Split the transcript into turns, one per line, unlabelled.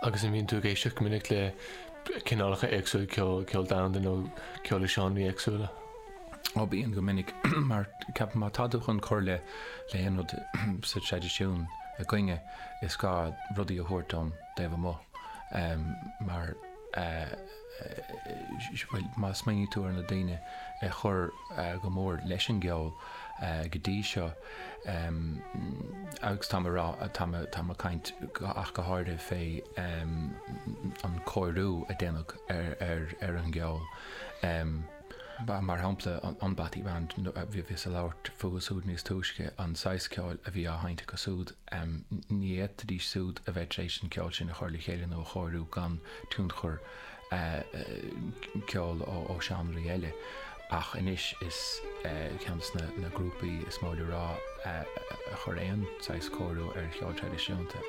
Agus an mbíonn tú ag éisteacht go minic le cineálacha éagsúla ceoil, ceol domhanda nó ceol i seánraí éagsúla?
Ó bíonn go minic mar ceapaim má tá tú chun cur le le haon rud sa traidisiún againne is gá rudaí a thabhairt ón dtaobh amuigh mar bhuel má smaoiníonn tú ar na daoine a chuir go mór leis an gceol go dtí seo agus tá mé ag rá tá mé tá mé ag caint ach go háirithe fé an cóiriú a déanadh ar ar ar an gceol. Mar shampla, an Bothy Band, bhíos ag labhairt fúthu súd níos túisce, an saghas ceoil a bhí á sheinnt acu súd, ní fhéadfaidís súd a bheith tar éis an ceol sin a chur le chéile nó a chóiriú gan tionchar ceoil ó seánraí eile. Ach anois is ceann de na grúpaí is mó le rá a chuir aon saghas cóiriú ar cheol traidisiúnta.